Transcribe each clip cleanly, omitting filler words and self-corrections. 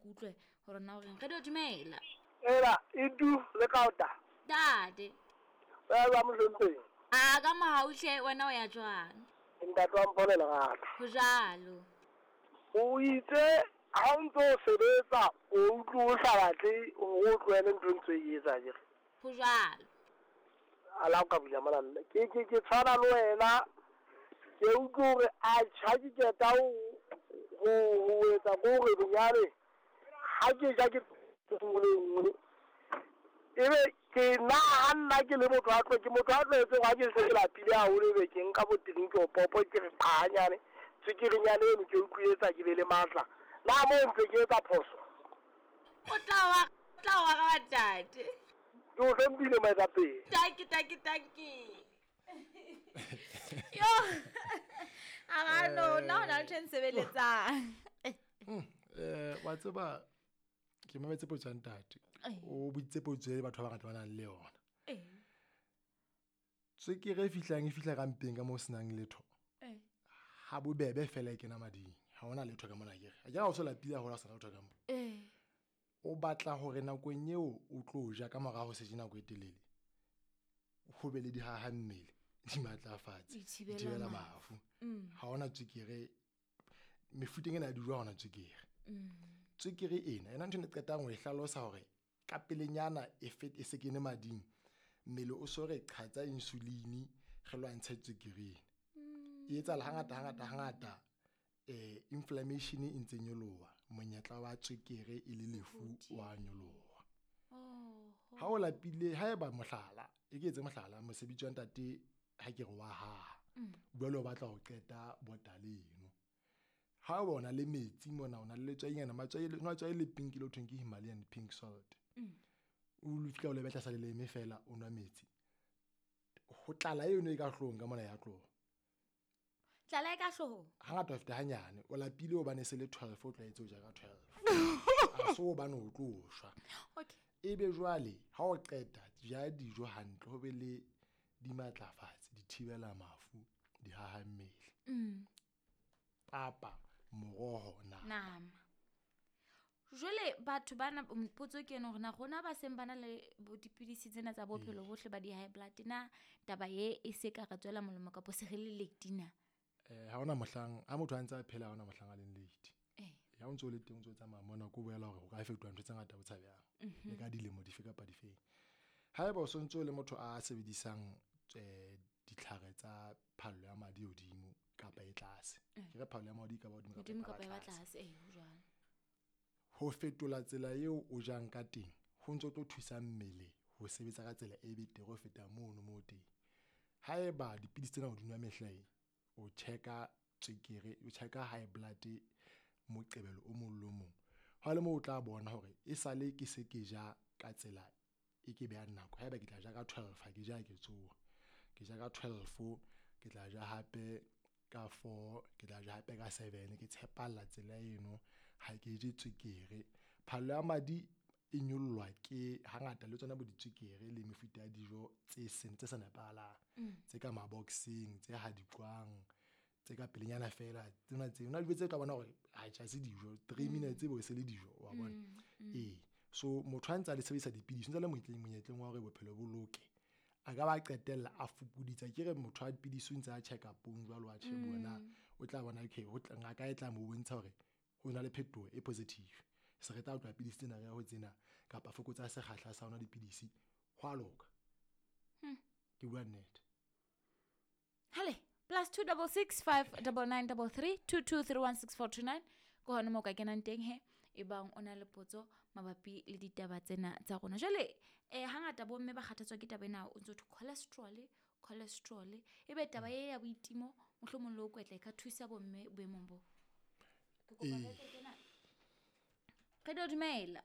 ke utlwe gore na o reng. Radio dumela. Ela, idu le kaota. Ntate. O ya jwang mohlomphehi? A ka mohautlhe wena o ya jwang? Ntate wa mpone lerato. Ho jalo. O itse ha o ntse o sebetsa o utlwe o sa batle hore o tlohele ntho e ntse o e etsa akere? Ho jwalo. A la o ka bula mona mme. Ke ke ke tshwana le wena. Ke utlwe hore atjhe ha ke qeta ho ho ho etsa ko hore bonyane ha ke ja ke nngwe le nngwe. Ebe ke nna ha nna ke le motho a tlo ke motho a tlwaetse ha ke se ke lapile haholo ebe ke nka bo drink o popo ke re qhanyane tswekere eno ke utlwe etsa ke be le matla. Na mo ntse ke etsa phoso? O tla wa tla wa ga ntate. Ke o hlomphile moetapele. Tanki tanki tanki. Yo. A ga no nna ho na le ntho e nsebeletsang. Wa tseba ke mametse potso ya ntate. O boditse potso e batho ba bangata ba nang le yona. Tswekere e fihlang e fihla ka mpeng ka moo senang letho. Ha bobebe fela e kena mading. Ha hona letho ka mona akere. Akere ha o so lapile haholo ha o sena letho ka mo. O batla hore nakong eo o tlo ja ka mora ho se je nako e telele. Ho be le dihaha mmele, di matlafatse, Di thibela di thibela mafu. Ha hona tswekere, mefuteng ena ya dijo ha hona tswekere. Tswekere ena, ena ntho e ne qetang ho e hlalosa hore ka pelenyana e fet e se kene mading, mmele o so re qhatsa insulin re lwantshe tswekere ena. E etsahala hangata hangata hangata inflammation e ntse nyoloha, monyetla wa tswekere e le lefu wa nyoloha. Ha o lapile, haeba mohlala, e ke etse mohlala, mosebetsi wa ntate ha ke re wa haha. Jwale o batla ho qeta botala eno. Ha o bona le metsi mona, o na le letswainyana, matswai, letswai le pink le ho thweng ke Himalayan pink salt. O lo fihla o le betla sa leleme fela o nwa metsi. Ho tlala eno e ka hloohong ka mona ya tloha. Tlala e ka hloohong? Hangata ho feta hanyane, o lapile hobane se le 12, o tlwaetse ho ja ka 12. Ha so hobane o tlo shwa. Okay. Ebe jwale ha o qeta ja dijo hantle, ho be le dimatlafatsi, di thibela mafu, di haha mmele. Papa, moroho, nama. Nama. Jwale batho bana potso ke ena hore na rona ba seng ba na le bo dipidisi tsena tsa bophelo bohle ba di-high blood na taba e e se ka re tswela molemo kapa se re le late na? Ha hona mohlang ha motho a ntse a phela ha hona mohlang a leng late. Ya o ntso le teng o ntso tsamaya mona ko boela hore o ka fetoha ntho tse ngata bo tshabehang. Le ka dilemo dife kapa difeng. Haeba o sontso le motho a sebedisang ditlhare tsa phallo ya madi hodimo kapa e tlase. Ke re phallo ya madi ka ba hodimo kapa e ba tlase, ho jwalo. Ho fetola tsela eo o jang ka teng ho ntso tlo thusa mmele ho sebetsa ka tsela e betere ho feta mono mo teng. Haeba dipidisi tsena o di nwa mehla e, o checka tswekere, o checka high blood moqebelo o mong le o mong. Ha le mo o tla bona hore e sale ke se ke ja ka tsela e ke behang nako. Haeba ke tla ja ka 12 ha ke ja ke tsoha. Ke ja ka 12, ke tla ja hape ka 4, ke tla ja hape ka 7, ke tshepalla tsela eno, ha ke je tswekere. Phallo ya madi e nyollwa ke hangata le tsona bo ditswekere le mefuta ya dijo tse seng tse sa nepahalang, tse ka maboxeng, tse hadikwang, tse ka pelenyana fela, tsena tse hona dijo tse tla bona hore ha tjha se dijo, 3 minutes bo se le dijo, wa bona. So motho ha ntse a le sebedisa dipidisi, ntse le monyetleng wa hore bophelo bo loke. A ka ba qetella a fokoditse. Ke re motho a dipidisi o ntse a check up-ong jwalo a tjhe bona, o tla bona okay, ho tla ngaka e tla mo bontsha hore ho na le phetoho e positive. Se re tla tloha pidisi tsena re ya ho tsena kapa fokotsa sekgahla sa hona dipidisi, ho a loka. Ke bua nnete. Hale, +2 66 5 99 33 22 31 6429 ke hona moo ka kenang teng he e bang o na le potso mabapi le ditaba tsena tsa rona. Jwale hangata bomme ba kgathatswa ke taba ena, o ntso thwe cholesterol, e be taba e ya boitimo mohlomong le ho kwetla e ka thusa bomme boemong bo. Ke kopa re kena. Re do dumela.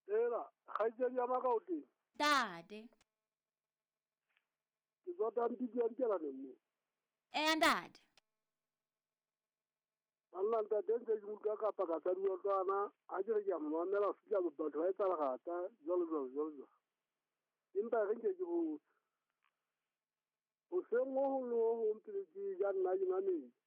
Ela, kgaitsedi ya maka o teng? Ntate. Ke tswa Tampidi ya Dikelaneng mo. Ntate. Banna ntate ntse ke utlwa kapa ka tsa diotwana, ha ke re ke a mo mamela ho fihla batho ba etsa lerata, jwalo jwalo jwalo jwalo. Empa re nke ke botse. Hoseng ho hong le ho hong pele ke ja nna ke nwa metsi.